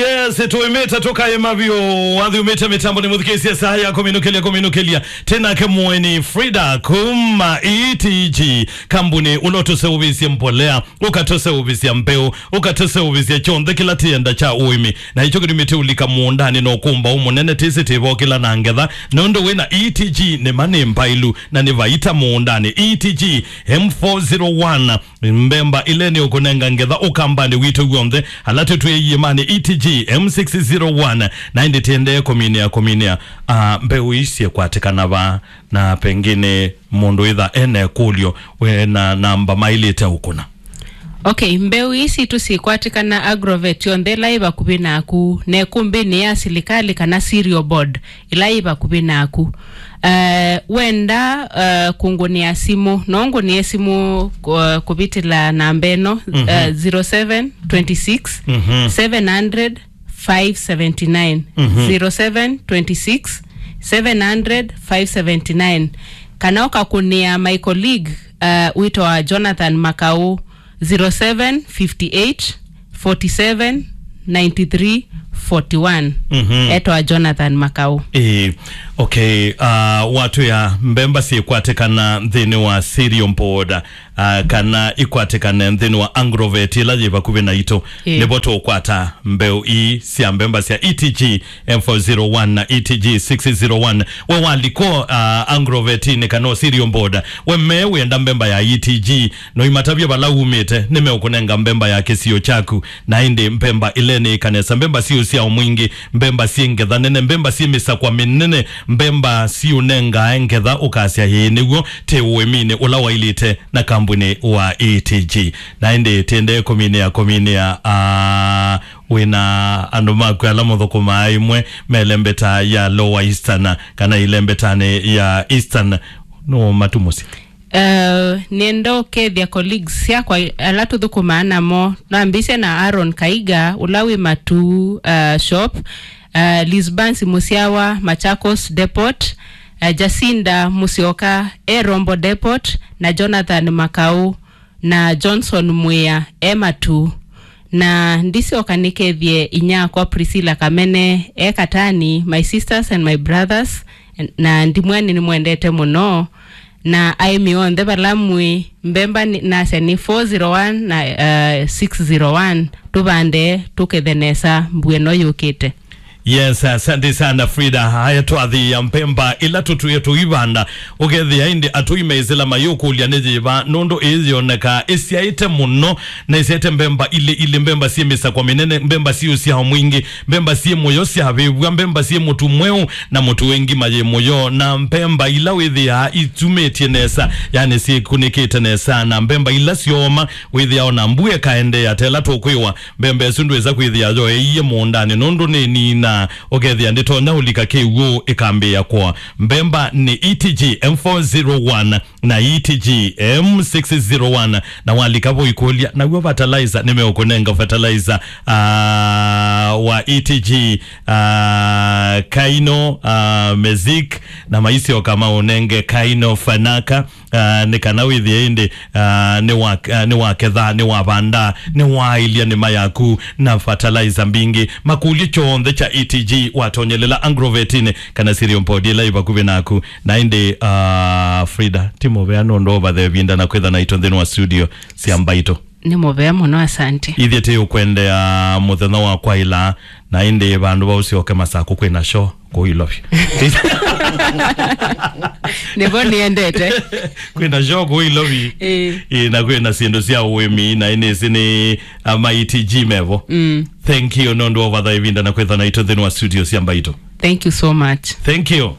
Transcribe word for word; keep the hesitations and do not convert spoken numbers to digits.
Yes, tũimĩte tũkaĩma vyũ. Wathiumĩte mĩtambo nĩ mũthikĩĩsye saa ya kũminũkĩlya, kũminũkĩlya. Tĩ nake mũeni Frida kuma E T G, kambuni ũla ũtũseũvĩsye mbolea, ũkatũseũvĩsya mbeũ, ũkatũseũvĩsya kyonthe kĩla tĩenda kya ũĩmi. Na ĩkyo kĩtumĩte ũlika mũũndanĩ na ũkũmbaũ mũnene, tĩsĩ tĩvokĩla na ngetha, nũndũ wĩna E T G nĩma nĩ mbaĩlu na nĩ vaita mũũndanĩ. E T G M four zero one, mbemba ĩla nĩ ũkũnenga ngetha ũkambanĩ witũ w'onthe, ala tũtwĩe iĩmanĩ E T G M six zero one, na ĩndĩ tĩendee kũminĩa, kũminĩa, ah, mbeũ ii syĩkwatĩkana va, na pengine mũndũ ĩtha ena ĩkũlyo, we na namba maĩlĩte ũkũna. Okay, mbeũ ii sitũ syĩkwatĩkana Agrovet yonthe ĩla yĩ vakuvĩ naku, na ĩkũmbĩnĩ ya silikalĩ kana cereal board ĩla yĩ vakuvĩ naku. Eh, wenda, eh, kũngũnĩa simũ, no ngũnĩe simũ, eh, kũvĩtĩla namba ĩno, eh, zero seven twenty six, seven hundred, five seventy nine, zero seven twenty six, seven hundred, five seventy nine. Kana ũkakũnĩa my colleague, uh, wĩtawa Jonathan Makau, zero seven fifty eight, forty seven, ninety three, forty one. Etawa Jonathan Makau. Eh, okay, uh, watwĩa mbemba syĩkwatĩkana nthĩnĩ wa cereal board, ah, kana ikwatĩkane nthĩnĩ wa Agrovet ĩla yĩ vakuvĩ naitũ. Ĩĩ. Nĩvo tũkwata mbeũ ii sya mbemba sya E T G M four zero one na E T G six zero one. We waliko, ah, Agrovet-inĩ kana o cereal board, we me wĩenda mbemba ya E T G, no imatavye vala umĩte, nĩmeũkũnenga mbemba ya kĩsio kyaku. Na ĩndĩ mbemba ĩla nĩ ĩkanesa, mbemba syĩ ũsyao mwingĩ, mbemba syĩ ngetha nene, mbemba syĩ mĩsakwa mĩnene, mbemba syĩũnengae ngetha ũkasya, "Ĩĩ nĩw'o, tĩ ũĩminĩ ũla wailĩte na kambunĩ wa E T G." Na ĩndĩ tĩendee kũminĩa, kũminĩa, ah, wĩna andũ maku ala mũthũkũmaa ĩmwe me ĩlembeta ya Lower Eastern kana ĩlembetanĩ ya Eastern, no matu mũsyĩ? Eh, nĩenda ũkethya colleagues syakwa ala tũthũkũmaa namo. Nambĩĩsye na Aaron Kaiga, ũla wĩ Matuu, eh, shop, eh, Liz Bansi Mũsyawa, Machakos Depot, eh, Jacinda Mũsyoka, e Rombo Depot, na Jonathan Makau, na Johnson Mwĩa, e Matuu. Na ndisyoka nĩkethye inyakwa Priscilla Kamene, e Katani, my sisters and my brothers, na ndimwani nĩmwendete mũno. Na aĩmi onthe vala mwĩ, mbemba nĩ, nasya nĩ four zero one na, uh, six zero one. Tũvande, tũkethe nesa mbua ĩno yũkĩte. Yes, asante sana Frida. Haya, twathĩĩa mbemba ila tũtwĩe tũivanda. Ũkethĩa ĩndĩ atũi me ĩsĩla mayũkũlya nĩ yĩva, nũndũ ĩĩ yĩonekaa ĩsyaĩte mũno, na ĩsyaĩte mbemba ilĩ ilĩ, mbemba syĩ mĩsakwa mĩnene, mbemba syĩ ũsyao mwingĩ, mbemba syĩ mũyo syavĩvw'a, mbemba syĩ mũtu mweũ, na mũtu wĩ ngima yĩ mũyo, na mbemba ila wĩthĩaa itumĩtye nesa, yani syĩkunĩkĩte nesa, na mbemba ila syooma wĩthĩaa ona mbua ĩkaendeea, ta ĩla tũkwĩwa, mbemba ĩsu ndwĩsa kwĩthĩa yoeie mũũndanĩ, nũndũ nĩ nina, ũkethĩa ndĩtonya ũlika kĩw'ũ ĩkambĩĩa kũa. Mbemba nĩ E T G M four zero one na E T G M six zero one, na walika vo ikũlya, naw'o fertilizer, nĩmeũkũnenga fertilizer, ah, wa E T G, ah, Kaino, ah, Mezik, na maisyoka maũnenge Kaino Fanaka, ah, nĩ kana wĩthĩe ĩndĩ, ah, nĩ wa, ah, nĩ waketha, nĩ wavanda, nĩ waaĩlya nĩma yaku na fertilizer mbingĩ. Makũlyo kyonthe kya E T G watonyelela Agrovet-inĩ kana cereal board ĩla ĩ vakuvĩ naku. Na ĩndĩ, ah, Frida, ti mũvea nũndũ ũvathe ĩvinda na kwĩtha naitũ nthĩnĩ wa studio sya Mbaitũ. Nĩ mũvea mũno, asante. Ithyĩ tĩ ũkwendea mũthenya wa kwaĩla, na ĩndĩ vandũ va ũsyoke Masakũ kwĩna show kũu Ilovi. Nĩvo nĩendete. Kwĩna show kũu Ilovi. Ĩĩ. Ĩĩ, na kwĩna syĩndũ sya ũĩmi, na ĩnĩsĩ nĩ ama E T G mevo. Mm. Thank you nũndũ wa ũvatha ĩvinda na kwĩtha naitũ nthĩnĩ wa studio sya Mbaitũ. Thank you so much. Thank you.